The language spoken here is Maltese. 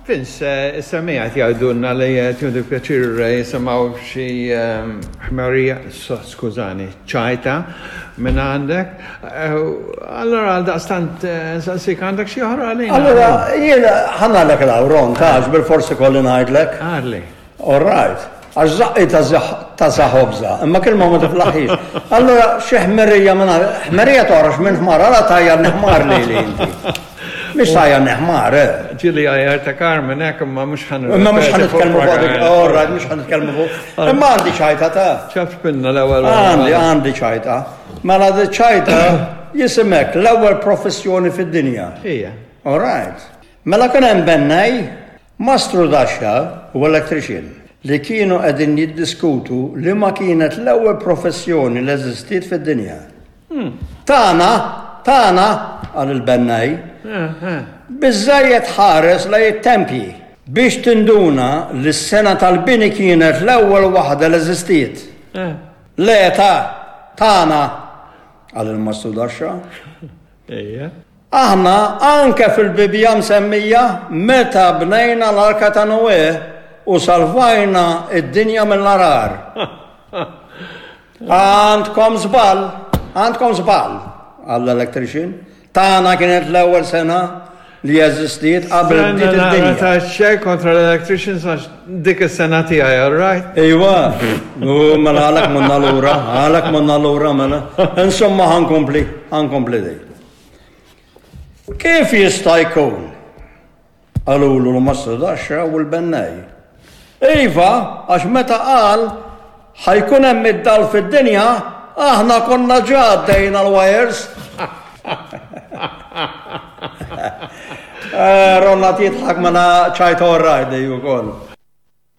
Vince, is-semmiegħa qed jgħidulna li qed jieħdu pjaċir jisimgħu xi ħmerija, skużani, ċajta minn għandek. Allora għaldaqstant nsaqsik għandek xi oħra għalina? Allora jiena ħa ngħidlek l-awron ta' għax bilfors ikolli ngħidlek. Għarli. All right. Għax żaqqi ta' za ħobża, imma kelma ma tiflaħhiex. Allura xi ħmerija minn ħmerija toħroġ minn ħmar, għala tgħajjarni ħmar lili inti. Mhix tgħajjarni ħmar, eh. Ġieli għajjar ta' Carmen hekk imma mhux ħan. Imma mhux ħan nitkellmu fuq dik, all right, mhux ħan nitkellmu fuq. Imma għandi ċajta ta'. Ċafpinna l-ewwel. Għandi, għandi ċajta. Mela di ċajta jisimek l-ewwel professjoni fid-dinja. Ija. All right. Mela kien hemm bennej Mastrudaxxa u electrician li kienu qegħdin jiddiskutu liema kienet l-ewwel professjoni li eżistiet fid-dinja. Tagħna! Tagħna! qal il-bennej. Biżżejjed tħares lejn it-tempji biex tinduna li s-sengħa tal-bini kienet l-ewwel waħda li eżistiet. Le, ta, tagħna! qal il-mastrudaxxa. Aħna anke fil-Bibbja msemmija meta bnejna l-Arka ta' Noè u salvajna d-dinja mill-għarar. Għandkom żball, għandkom żball, qal l-electrician. Tagħna kienet l-ewwel sena li eżistiet qabel bdiet id-dinja. Ta' xejn kontra l-electricians għax dik is-sena tiegħi, all right? Iwa, u mela għalhekk monna lura, għalhekk monna lura mela. Insomma ħankompli, ħankompli dej. Kif jista' jkun? Qalulu l-mastrudaxxa u l-bennej. Iva, għax meta qal ħa jkun hemm id-dawl fid-dinja, aħna konna ġa għaddejna l-wires. Eh, Ronald jidħak mela ċajt all right dej ukoll.